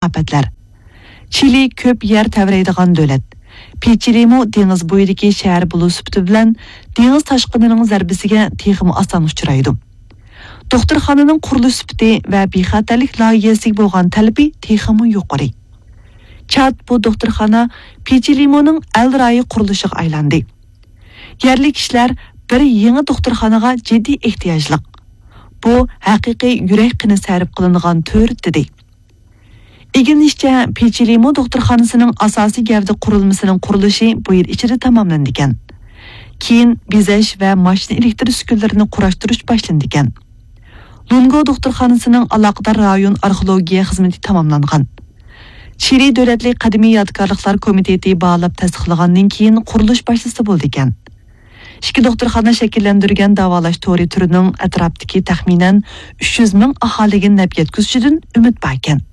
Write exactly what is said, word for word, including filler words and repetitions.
ئاپەتلەر. چىلى كۆپ يەر تەۋرەيدىغان دۆلەت. پېچىلىمۇ دېڭىز بويىدىكى شەھەر بولۇش سۈپىتى بىلەن دېڭىز تاشقىنىنىڭ زەربىسىگە تېخىمۇ ئاسان ئۇچرايدۇ. دوختۇرخانىنىڭ قۇرۇلۇش سۈپىتى ۋە بىخەتەرلىك لايىھەسىگە بولغان تەلىپى تېخىمۇ يۇقىرى. چات بۇ دوختۇرخانا پېچىلىمۇنىڭ ئەل رايى قۇرۇلۇشىغا ئايلاندى. يەرلىك كىشىلەر بىر يېڭى دوختۇرخانىغا جىددىي ئېھتىياجلىق. بۇ ھەقىقىي يۈرەك قېنى سەرپ قىلىنغان تۈر، دېدى. ئىگىلىنىشىچە، پېچىلىمۇ دوختۇرخانىسىنىڭ ئاساسىي گەۋدە قۇرۇلمىسىنىڭ قۇرۇلۇشى بۇ يىل ئىچىدە تاماملىنىدىكەن. كېيىن بېزەش ۋە ماشىنا ئېلېكتر ئۈسكۈنىلىرىنى قۇراشتۇرۇش باشلىنىدىكەن. لۇنگو دوختۇرخانىسىنىڭ ئالاقىدار رايون ئارخېئولوگىيە خىزمىتى تاماملانغان. چىلى دۆلەتلىك قەدىمىي يادىكارلىقلار كومىتېتى باھالاپ تەستىقلىغاندىن كېيىن قۇرۇلۇش باشلىسا بولىدىكەن. ئىككى دوختۇرخانا شەكىللەندۈرگەن داۋالاش تورى تۈرىنىڭ ئەتراپتىكى تەخمىنەن ئۈچ يۈز مىڭ ئاھالىگە نەپ يەتكۈزۈشىدىن ئۈمىد باركەن.